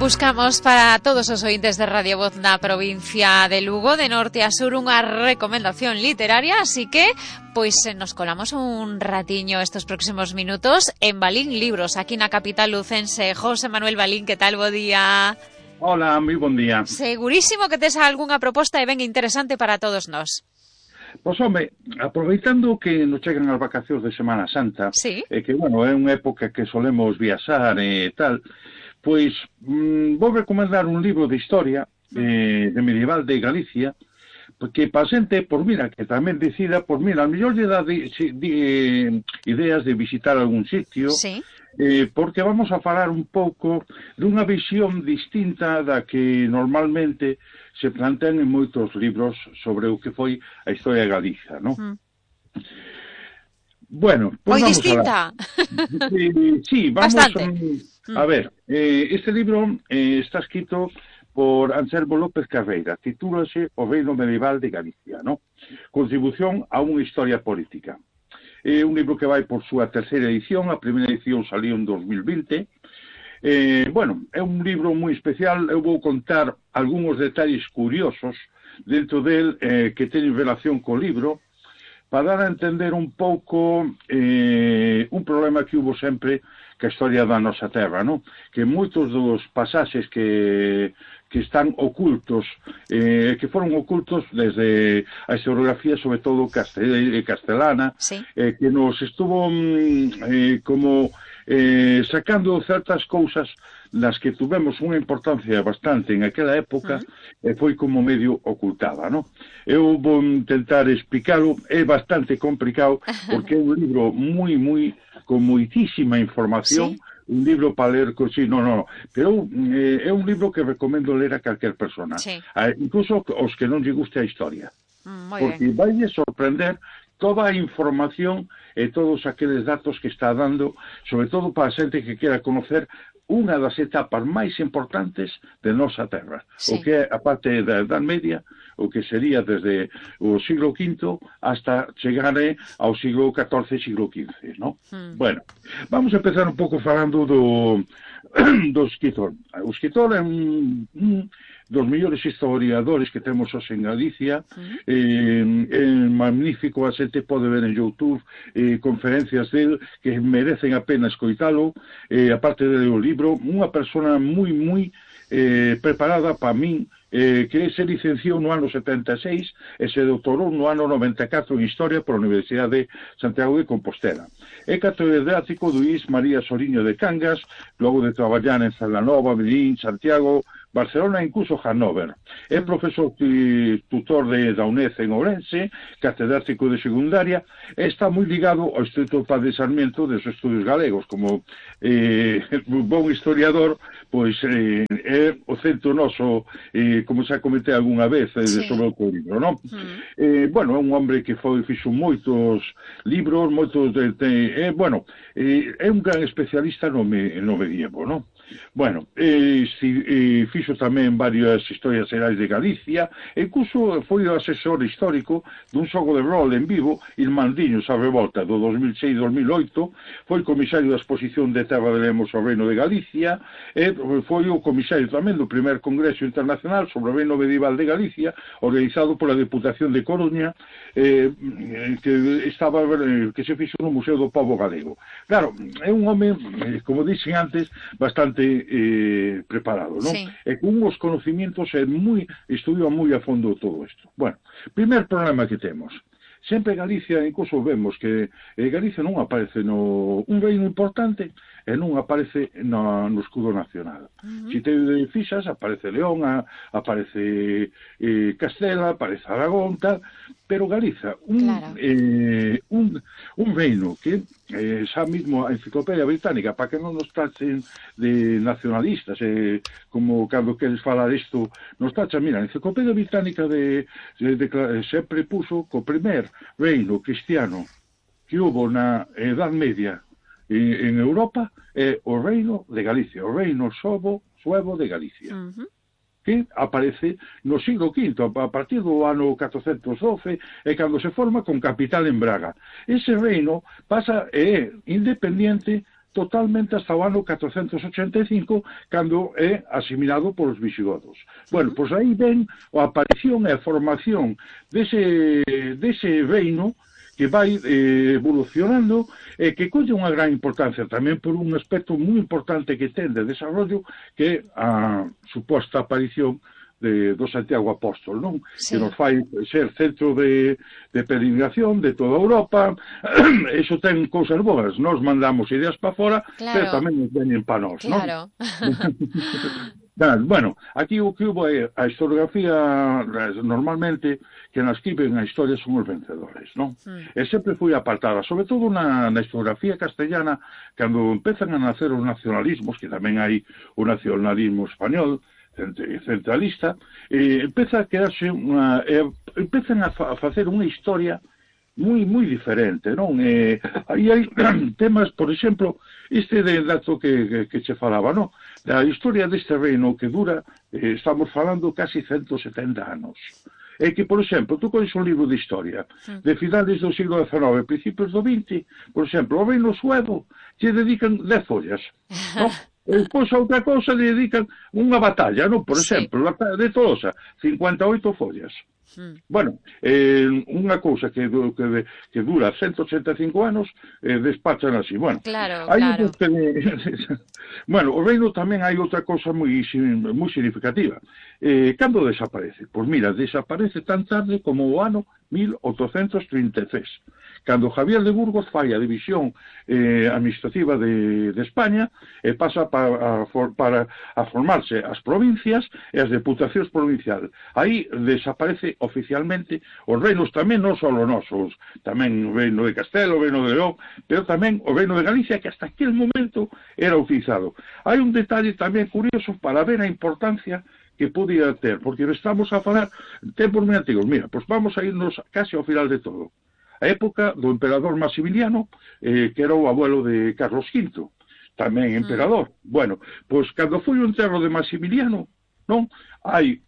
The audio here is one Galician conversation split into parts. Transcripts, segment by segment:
Buscamos para todos os ointes de Radio Voz na provincia de Lugo, de norte a sur, unha recomendación literaria, así que pois nos colamos un ratiño estos próximos minutos en Balín Libros, aquí na capital lucense. José Manuel Balín, que tal? Bo día. Hola, moi bon día. Segurísimo que tes algunha proposta e ben interesante para todos nós. Pois, home, aproveitando que nos chegan as vacacións de Semana Santa, sí, que, bueno, é unha época que solemos viaxar e tal, pois vou recomendar un libro de historia de medieval de Galicia, porque para xente, por mira, que tamén decida, por mira, a mellor lle dá ideas de visitar algún sitio, sí, porque vamos a falar un pouco dunha visión distinta da que normalmente se plantean en moitos libros sobre o que foi a historia de Galicia, non? Bueno, moi pues distinta. Sí, vamos bastante. A ver, este libro está escrito por Anselmo López Carreira, titúlase O reino medieval de Galicia, ¿no? Contribución a unha historia política. É un libro que vai por súa terceira edición, a primeira edición salió en 2020. Bueno, é un libro moi especial, eu vou contar algúns detalles curiosos dentro del que teñen relación co libro, para dar a entender un pouco un problema que hubo sempre que a historia da nosa terra, non? Que moitos dos pasaxes que están ocultos, que foron ocultos desde a historiografía, sobre todo castelana, sí, que nos estuvo sacando certas cousas nas que tuvemos unha importancia bastante en aquela época, foi como medio ocultada, non? Eu vou intentar explicarlo, é bastante complicado, porque é un libro con moitísima información, ¿sí? Un libro para ler, sí, pero é un libro que recomendo ler a calquer persona, sí, incluso os que non lle guste a historia, porque bien. vai sorprender toda a información e todos aqueles datos que está dando, sobre todo para a xente que quera conocer unha das etapas máis importantes de nosa terra, sí, o que é a parte da Edad Media, o que sería desde o siglo V hasta chegar ao siglo XIV, siglo XV, ¿no? Bueno, vamos a empezar un pouco falando do escritor. O escritor é un dos mellores historiadores que temos hoxe en Galicia, é magnífico, a xente pode ver en YouTube conferencias del que merecen a pena escoitalo, aparte do libro, unha persona moi preparada para min, que se licenciou no ano 76 e se doutorou no ano 94 en Historia pola Universidade de Santiago de Compostela. É catedrático do IS María Soriño de Cangas, logo de traballar en Zalanova, Medellín, Santiago, Barcelona e incluso Hannover. É profesor tutor da UNED en Ourense, catedrático de secundaria, e está moi ligado ao Instituto Padre Sarmiento dos Estudios Galegos. Como un bon historiador, pois é o centro noso, como xa comentei algunha vez, sobre o teu libro, non? Bueno, é un hombre que fixo moitos libros, é un gran especialista no medievo, non? Bueno, fixo tamén varias historias xerais de Galicia, e incluso foi o asesor histórico dun xogo de rol en vivo, Irmandiños a Revolta, do 2006-2008, foi comisario da exposición de Terra de Lemos ao Reino de Galicia, e foi o comisario tamén do primer Congreso Internacional sobre o Reino Medieval de Galicia, organizado pola Deputación de Coruña, que se fixo no Museo do Pobo Galego. Claro, é un home, como dixen antes, bastante preparado, non? Sí. E con uns conocimientos estudiou moi a fondo todo isto. Bueno, primer problema que temos. Sempre Galicia, incluso vemos que Galicia non aparece un reino importante e non aparece no escudo nacional. Se te fixas, aparece León, aparece Castela, aparece Aragón, tal, pero Galiza, un reino que xa mesmo a Enciclopedia Británica, para que non nos tachen de nacionalistas, como cando queres falar isto, nos tachan, mira, a Enciclopedia Británica sempre puso que o primer reino cristiano que hubo na Edad Media en Europa é o reino de Galicia, o reino suevo de Galicia, que aparece no siglo V, a partir do ano 1412, e cando se forma con capital en Braga. Ese reino é independente totalmente hasta o ano 485, cando é asimilado polos visigodos. Bueno, pois aí ven a aparición e a formación dese reino que vai evolucionando e que colle unha gran importancia tamén por un aspecto moi importante que ten de desarrollo, que é a suposta aparición do Santiago Apóstol, non? Sí. Que nos fai ser centro de peregrinación de toda Europa. Eso ten cousas boas. Nos mandamos ideas para fora, claro, pero tamén nos veñen para nós, claro, non? Bueno, aquí o que hubo é a historiografía, normalmente, que nas que ven a historia son os vencedores, non? E sempre foi apartada, sobre todo na historiografía castellana, cando empezan a nacer os nacionalismos, que tamén hai o nacionalismo español, centralista, empeza a quedarse empezan a facer unha historia moi diferente, non? Aí hai temas, por exemplo, este dato que che falaba, non? A historia deste reino que dura, estamos falando casi 170 anos. É que, por exemplo, tú cones un libro de historia de finales do siglo XIX, principios do XX, por exemplo, o reino suevo lle dedican 10 follas, non? E depois a outra cousa le dedican unha batalla, non? Por exemplo, a batalla de Tolosa, 58 follas. Bueno, unha cousa que dura 185 anos, despachan así. Bueno, claro. Bueno, o reino tamén hai outra cousa moi significativa. Cando desaparece? Pois mira, desaparece tan tarde como o ano 1833. Cando Javier de Burgos fai a división administrativa de España e pasa para formarse as provincias e as deputacións provinciales. Aí desaparece oficialmente os reinos tamén, non só os nosos, tamén o reino de Castelo, o reino de León, pero tamén o reino de Galicia, que hasta aquel momento era utilizado. Hai un detalle tamén curioso para ver a importancia que podía ter, porque estamos a falar en tempos moi antigos. Mira, pois vamos a irnos casi ao final de todo. A época do emperador Maximiliano, que era o abuelo de Carlos V, tamén emperador. Bueno, pois cando foi o enterro de Maximiliano, non? Hai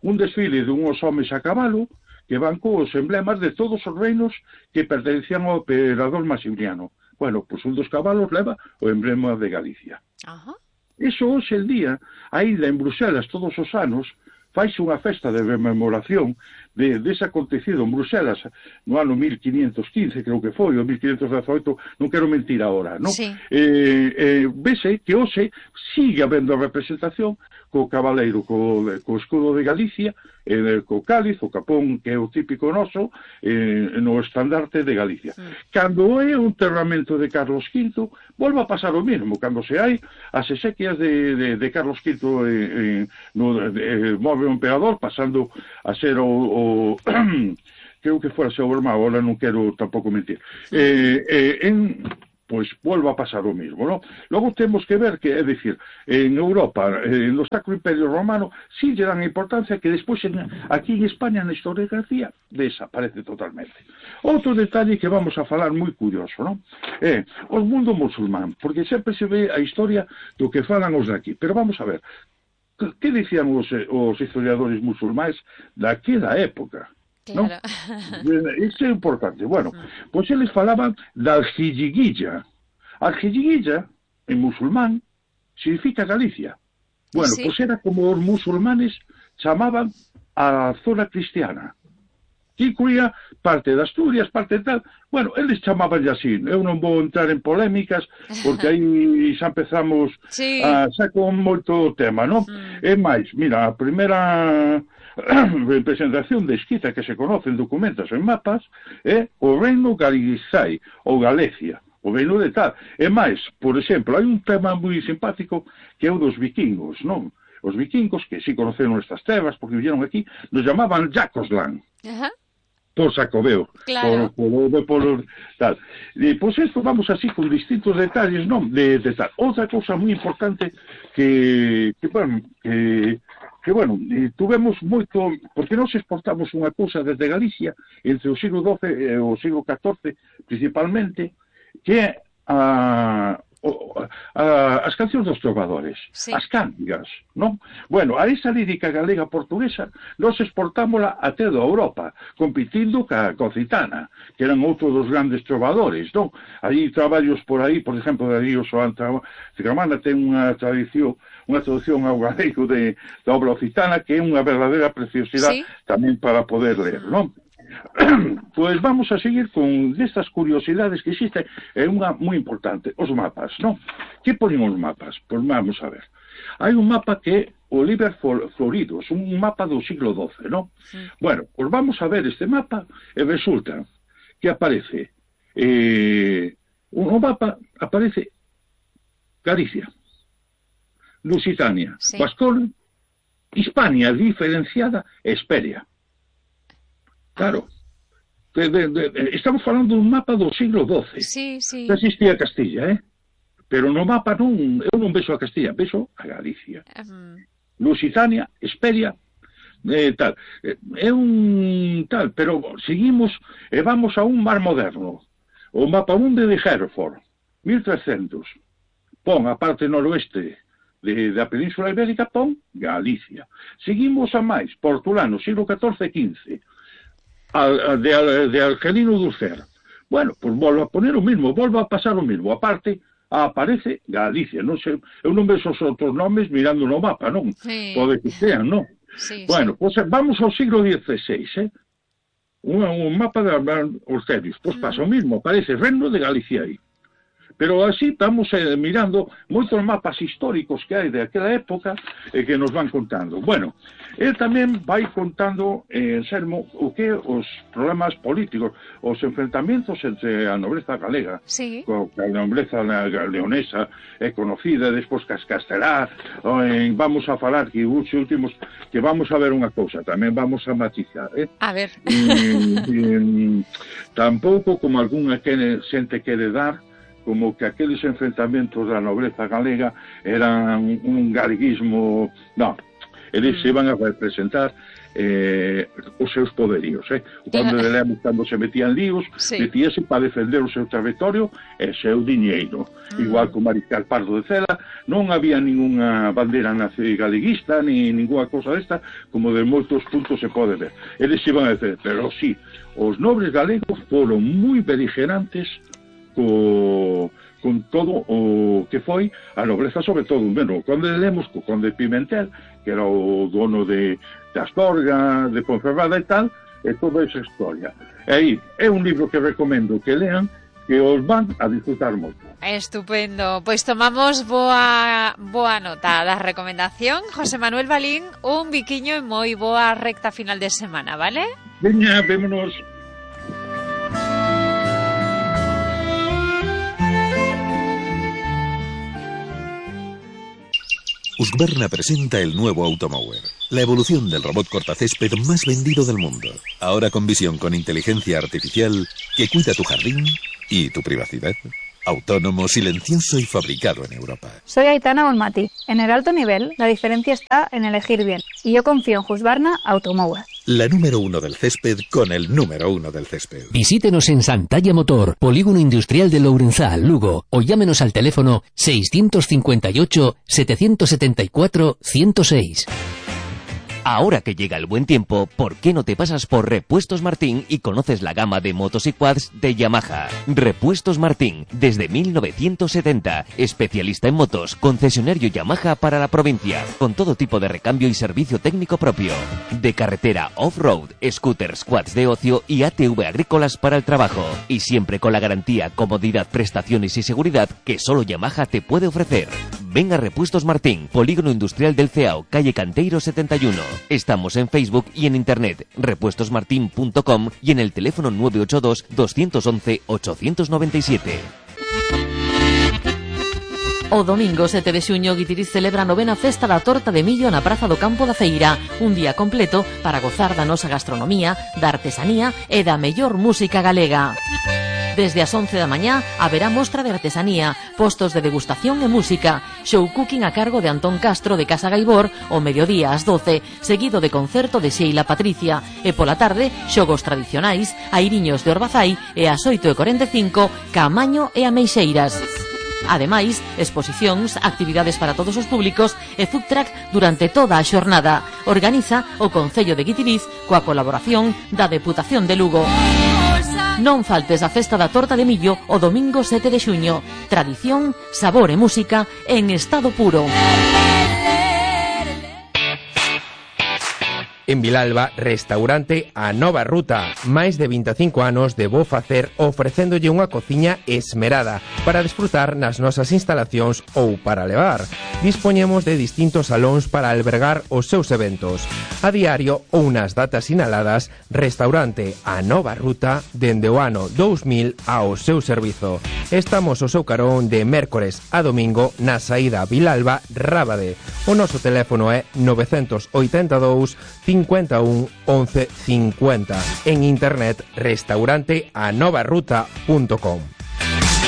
un desfile dunhos homes a cabalo que van cos emblemas de todos os reinos que pertenecían ao emperador Maximiliano. Bueno, pois un dos cabalos leva o emblema de Galicia. Eso hoxe el día, ainda en Bruselas todos os anos, faise unha festa de rememoración dese acontecido en Bruselas no ano 1515, creo que foi, ou 1518, non quero mentir agora, non? Sí. Vese que hoxe sigue habendo representación co cabaleiro, co escudo de Galicia, co cáliz, o capón, que é o típico noso, no estandarte de Galicia. Cando é o enterramento de Carlos V, volve a pasar o mesmo. Cando se hai as exequias de Carlos V, move o emperador, pasando a ser creo que fora seu irmão, agora non quero tampouco mentir. Pois volve a pasar o mesmo, non? Logo temos que ver que, é dicir, en Europa, no Sacro Imperio Romano, sí lle dan importancia que despois aquí en España, na historiografía, desaparece totalmente. Outro detalle que vamos a falar moi curioso, non? É o mundo musulmán, porque sempre se ve a historia do que falan os daqui, pero vamos a ver, que dicían os historiadores musulmáns daquela época? Claro. ¿No? Isto é importante. Bueno, pois eles falaban da Aljiyiguilla. Aljiyiguilla, en musulmán, significa Galicia. Bueno, sí. Pois era como os musulmanes chamaban a zona cristiana. Que incluía parte de Asturias, parte de tal. Bueno, eles chamaban así. Eu non vou entrar en polémicas, porque aí xa empezamos xa con moito tema, non? É máis, mira, a primeira representación de escrita que se conoce en documentos, en mapas, é o reino Galicai, ou Galicia, o reino de tal. E máis, por exemplo, hai un tema moi simpático que é o dos vikingos, non? Os vikingos, que si conoceron estas terras, porque vieron aquí, nos llamaban Jacosland. Por Sacobeo, claro. por tal. E, pois isto vamos así con distintos detalles, non? De tal. Outra cousa moi importante que tuvemos moito, porque nós exportamos unha cousa desde Galicia entre o siglo XII e o siglo XIV principalmente, que é as cancións dos trovadores, sí. as cántigas, non? Bueno, a esa lírica galega portuguesa nos exportámola a toda Europa, competindo ca Occitana, que eran outro dos grandes trovadores, non? Aí traballos por aí, por exemplo, Darío Soán Tramana ten unha traducción ao galego da obra occitana que é unha verdadeira preciosidade, sí, tamén para poder ler, non? Pois vamos a seguir con destas curiosidades que existen, é unha moi importante, os mapas, non? Que ponen os mapas? Pois vamos a ver. Hai un mapa que é o Liber Floridos, un mapa do siglo XII, non? Sí. Bueno, pois vamos a ver este mapa e resulta que aparece no mapa aparece Galicia, Lusitania, sí, Guascón, Hispania diferenciada e Esperia. Claro, estamos falando dun mapa do siglo XII. Sí, sí. Non existía Castilla, pero no mapa eu non vexo a Castilla, vexo a Galicia. Lusitania, Esperia, tal. É un tal, pero seguimos e vamos a un mar moderno. O mapa mundi de Hereford, 1300. Pon a parte noroeste da Península Ibérica, pon Galicia. Seguimos a máis, Portulano, siglo XIV-XV. De Argelino Dulcer. Bueno, pues volvo a poner o mismo, volvo a pasar o mismo. Aparte, aparece Galicia. Non sei, eu non vexo os outros nomes mirando no mapa, non? Sí. Pode que sean, non? Sí, bueno, sí, pues vamos ao siglo XVI, un mapa de Orcelius. Pues pasa o mismo, aparece Reino de Galicia aí. Pero así estamos mirando moitos mapas históricos que hai de aquela época e que nos van contando. Bueno, el tamén vai contando, Anselmo, o que os problemas políticos, os enfrentamentos entre a nobreza galega, sí, a nobreza leonesa é conocida, despois Castelá, vamos a falar que os últimos, que vamos a ver unha cousa, tamén vamos a matizar, A ver. Tampouco como algunha xente quere dar, como que aqueles enfrentamentos da nobreza galega eran un galeguismo. Non, eles se iban a representar os seus poderíos. Cando se metían líos, sí, metíase para defender o seu territorio e o seu diñeiro. Igual que o Mariscal Pardo de Cela, non había ninguna bandeira galeguista, ni ninguna cosa desta, como de moitos puntos se pode ver. Eles iban a decir, pero sí, os nobres galegos foron moi beligerantes con todo o que foi a nobreza, sobre todo, bueno, cando lemos co conde Pimentel, que era o dono de Astorga, de Ponferrada e tal, e toda esa historia. E aí, é un libro que recomendo que lean, que os van a disfrutar moito. Estupendo, pois tomamos boa nota da recomendación. José Manuel Balín, un biquiño e moi boa recta final de semana, vale? Veña, vémonos. Husqvarna presenta el nuevo Automower, la evolución del robot cortacésped más vendido del mundo. Ahora con visión con inteligencia artificial que cuida tu jardín y tu privacidad. Autónomo, silencioso y fabricado en Europa. Soy Aitana Olmati. En el alto nivel, la diferencia está en elegir bien. Y yo confío en Husqvarna Automower. La número 1 del césped con el número 1 del césped. Visítenos en Santalla Motor, Polígono Industrial de Lourenzá, Lugo, o llámenos al teléfono 658-774-106. Ahora que llega el buen tiempo, ¿por qué no te pasas por Repuestos Martín y conoces la gama de motos y quads de Yamaha? Repuestos Martín, desde 1970, especialista en motos, concesionario Yamaha para la provincia, con todo tipo de recambio y servicio técnico propio. De carretera off-road, scooters, quads de ocio y ATV agrícolas para el trabajo. Y siempre con la garantía, comodidad, prestaciones y seguridad que solo Yamaha te puede ofrecer. Ven a Repuestos Martín, Polígono Industrial del Ceao, calle Canteiro 71. Estamos en Facebook y en internet, repuestosmartin.com y en el teléfono 982 211 897. O domingo 7 de xuño, Guitiriz celebra a novena festa da torta de millo na Praza do Campo da Feira, un día completo para gozar da nosa gastronomía, da artesanía e da mellor música galega. Desde as 11 da mañá haberá mostra de artesanía, postos de degustación e música, show cooking a cargo de Antón Castro de Casa Gaibor o mediodía ás 12, seguido de concerto de Sheila Patricia, e pola tarde xogos tradicionais, airiños de Orbazai e ás 8:45 Camaño e Ameixeiras. Ademais, exposicións, actividades para todos os públicos e food truck durante toda a xornada. Organiza o Concello de Guitiriz coa colaboración da Deputación de Lugo. Non faltes a festa da torta de millo o domingo 7 de xuño. Tradición, sabor e música en estado puro. En Vilalba, restaurante A Nova Ruta. Máis de 25 anos de bo facer ofrecéndolle unha cociña esmerada para desfrutar nas nosas instalacións ou para levar. Dispoñemos de distintos salóns para albergar os seus eventos. A diario ou nas datas sinaladas, restaurante A Nova Ruta dende o ano 2000 ao seu servizo. Estamos ao seu carón de mércores a domingo na saída Vilalba-Rábade. O noso teléfono é 982 51 11 50. En internet restauranteanovaruta.com.